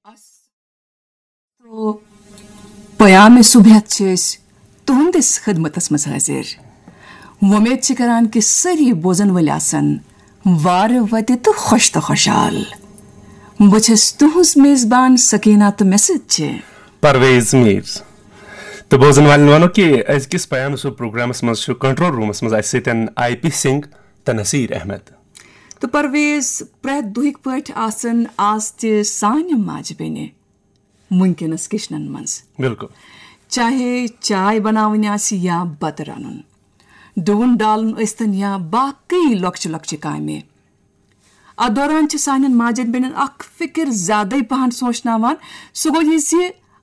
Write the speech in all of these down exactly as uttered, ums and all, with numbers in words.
اس تو پیام صبحیت چھِ أسۍ تُہنٛدِس خدمتس منٛز حٲضِر۔ وۄمید چھِ کران کہِ سٲری بوزن وٲلۍ آسن وارٕ وتہِ تہٕ خۄش تہٕ خۄشحال۔ بہٕ چھَس تُہنٛز میزبان سکینہ تہٕ مےٚ سۭتۍ چھِ پرویز میر۔ تہٕ بوزن والٮ۪ن وَنو کہِ أزکِس پیام صبح پروگرامس منٛز چھُ کنٹرول رومس منٛز اَسہِ سۭتۍ آئی پی سنگھ تہٕ نصیر احمد۔ تہٕ پرویز، پرٛٮ۪تھ دۄہٕکۍ پٲٹھۍ آسن آز تہِ سانہِ ماجہِ بیٚنہِ وٕنکیٚنس کچنن منٛز۔ بِلکُل۔ چاہے چاے بناوٕنۍ آسہِ یا بتہٕ رنُن، ڈوُن ڈالُن ٲسۍتن یا باقٕے لۄکچہِ لۄکچہِ کامہِ۔ اتھ دوران چھِ سانٮ۪ن ماجن بیٚنٮ۪ن اکھ فکر زیادے پہن سوچناوان، سُہ گوٚو یہِ زِ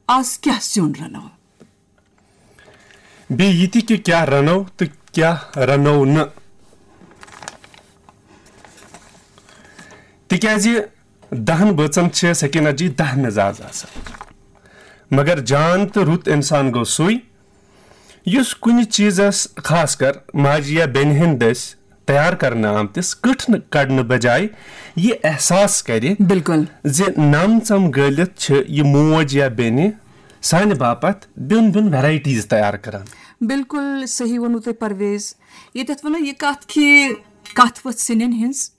آز کیٛاہ سیُن رنو۔ بیٚیہِ یہِ تہِ کہِ کیٛاہ رنو تہٕ کیٛاہ رنو نہٕ۔ تِکیٛازِ دَہَن بٲژَن چھِ سکینہ جی دَہ مِزاز آسان۔ مگر جان تہٕ رُت اِنسان گوٚو سُے، یُس کُنہِ چیٖزَس، خاص کر ماجہِ یا بیٚنہِ ہٕنٛدۍ دٔسۍ تیار کرنہٕ آمتِس کٕٹھ نہٕ کڑنہٕ بجایہِ یہِ احساس کرِ بِلکُل۔ زِ نم ژم گٲلِتھ چھِ یہِ موج یا بیٚنہِ سانہِ باپتھ بیوٚن بیوٚن ویرایٹیز تیار کران۔ بِلکُل صحیح ووٚنوٕ تۄہہِ پرویز۔ ییٚتٮ۪تھ وَنو یہِ کَتھ کہِ کَتھ ؤژھ سِنٮ۪ن ہِنٛز۔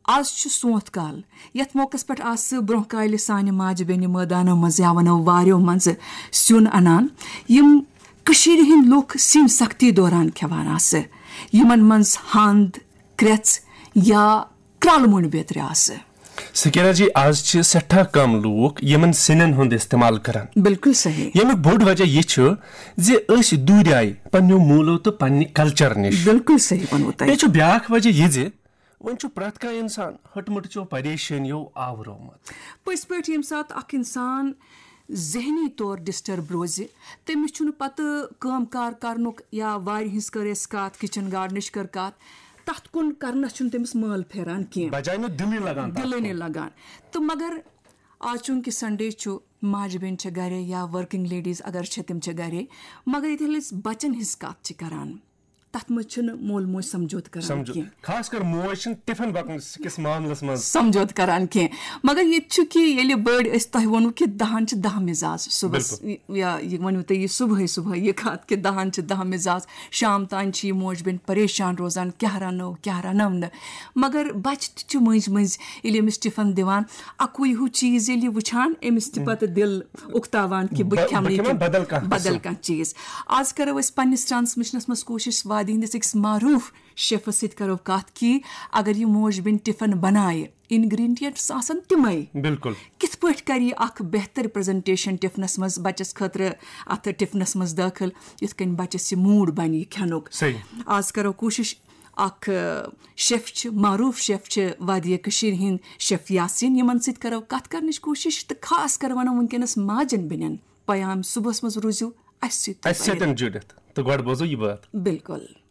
آز چھُ سونٛتھ کال۔ یَتھ موقعس پٮ۪ٹھ آسہٕ برٛونٛہہ کالہِ سانہِ ماجہِ بیٚنہِ مٲدانو منٛزٕ یا وَنو واریو منٛزٕ سیُن اَنان، یِم کٔشیٖرِ ہِنٛدۍ لُکھ سِنۍ سختی دوران کھٮ۪وان آسہٕ، یِمن منٛز ہَنٛد، کرٛٮ۪ژھ یا کرٛالہٕ مۄنٛڈ بیترِ آسہٕ۔ سکینہ جی، آز چھِ سٮ۪ٹھاہ کم لوٗکھ یِمن سِنٮ۪ن ہُنٛد استعمال کران۔ بِلکُل صحیح۔ ییٚمیُک بوٚڑ وجہ یہِ چھُ زِ أسۍ دوٗریایہِ پننیو موٗلو تہٕ پننہِ کلچر نِش۔ بِلکُل صحیح ووٚنوٕ تۄہہِ۔ بیٚیہِ چھُ بیٛاکھ وجہ یہِ زِ وۄنۍ چھُ پرٛٮ۪تھ کانٛہہ اِنسان ۂٹمٕٹچیو پریشٲنیو آورومُت۔ پٔزۍ پٲٹھۍ ییٚمہِ ساتہٕ اکھ اِنسان ذہنی طور ڈسٹرب روزِ، تٔمِس چھُنہٕ پتہٕ کٲم کار کرنُک، یا وارِ ہٕنٛز کٔر اَسہِ کتھ، کچن گارڈنٕچ کٔر کتھ، تتھ کُن کرنس چھُنہٕ تٔمِس مٲل پھیران کینٛہہ۔ بجایہِ نہٕ دِلٕے لگان تتھ دِلٕے کُن۔ نہٕ لگان۔ تہٕ مگر آز چوٗنٛکہِ سنڈے چھُ، ماجہِ بیٚنہِ چھےٚ گرے یا ورکنگ لیڈیز اگر چھےٚ، تِم چھےٚ گرے، مگر ییٚتہِ ییٚلہِ أسۍ بچن ہٕنٛز کتھ چھِ کران، تتھ منٛز چھِنہٕ مول موج سمجھوتہٕ کران سمجھو، کینٛہہ۔ خاص کر موج چھِنہٕ ٹفن بکس کِس معاملس منٛز۔ سمجھوتہٕ کران کینٛہہ۔ مگر ییٚتہِ چھُ کہِ ییٚلہِ بٔڑۍ أسۍ، تۄہہِ ووٚنوٕ کہِ دَہن چھِ دَہ مِزاز صُبحس، بِلکُل۔ یا یہِ ؤنِو تُہۍ یہِ صُبحٲے صُبحٲے یہِ کَتھ کہِ دَہن چھِ دَہ مِزاز، شام تام چھِ یہِ موج بیٚنہِ پریشان روزان، کیٛاہ رَنو، کیٛاہ رَنو نہٕ۔ مگر بَچہٕ تہِ چھِ مٔنٛزۍ مٔنٛزۍ ییٚلہِ أمِس ٹِفن دِوان، اَکُے ہیوٗ چیٖز ییٚلہِ یہِ وٕچھان، أمِس تہِ پَتہٕ دِل اُکتاوان کہِ بہٕ بہٕ، بہٕ کھٮ۪مہٕ یہِ کھٮ۪مہٕ کہِ بدل کانٛہہ بدل قٕسم۔ کانٛہہ چیٖز۔ آز کَرو أسۍ پنٛنِس ٹرانسمیشنَس منٛز کوٗشِش وادی ہِنٛدِس أکِس معروٗف شیفس سۭتۍ کرو کتھ کہِ اگر یہِ موج بیٚنہِ ٹفن بنایہِ، انگریڈینٹس آسن تِمے۔ بِلکُل۔ کِتھ پٲٹھۍ کرِ یہِ اکھ بہتر پریزنٹیشن ٹفنس منٛز بچس خٲطرٕ، اتھ ٹفنس منٛز دٲخل، یِتھ کٔنۍ بچس یہِ موٗڈ بنہِ یہِ کھٮ۪نُک۔ صحیح۔ آز کرو کوٗشش اکھ، ٲ، شیف چھِ، معروٗف شیف چھِ وادی کٔشیٖرِ ہِنٛدۍ شیف یاسین، یِمن سۭتۍ کرو کتھ کرنٕچ کوٗشش تہٕ خاص کر ونو وٕنکیٚنس ماجن بیٚنٮ۪ن پیام صُبحس منٛز روٗزِو اسہِ سۭتۍ تہٕ اَسہِ سۭتۍ جُڑِتھ۔ تہٕ گۄڈٕ بوزو یہِ بٲتھ۔ بِلکُل۔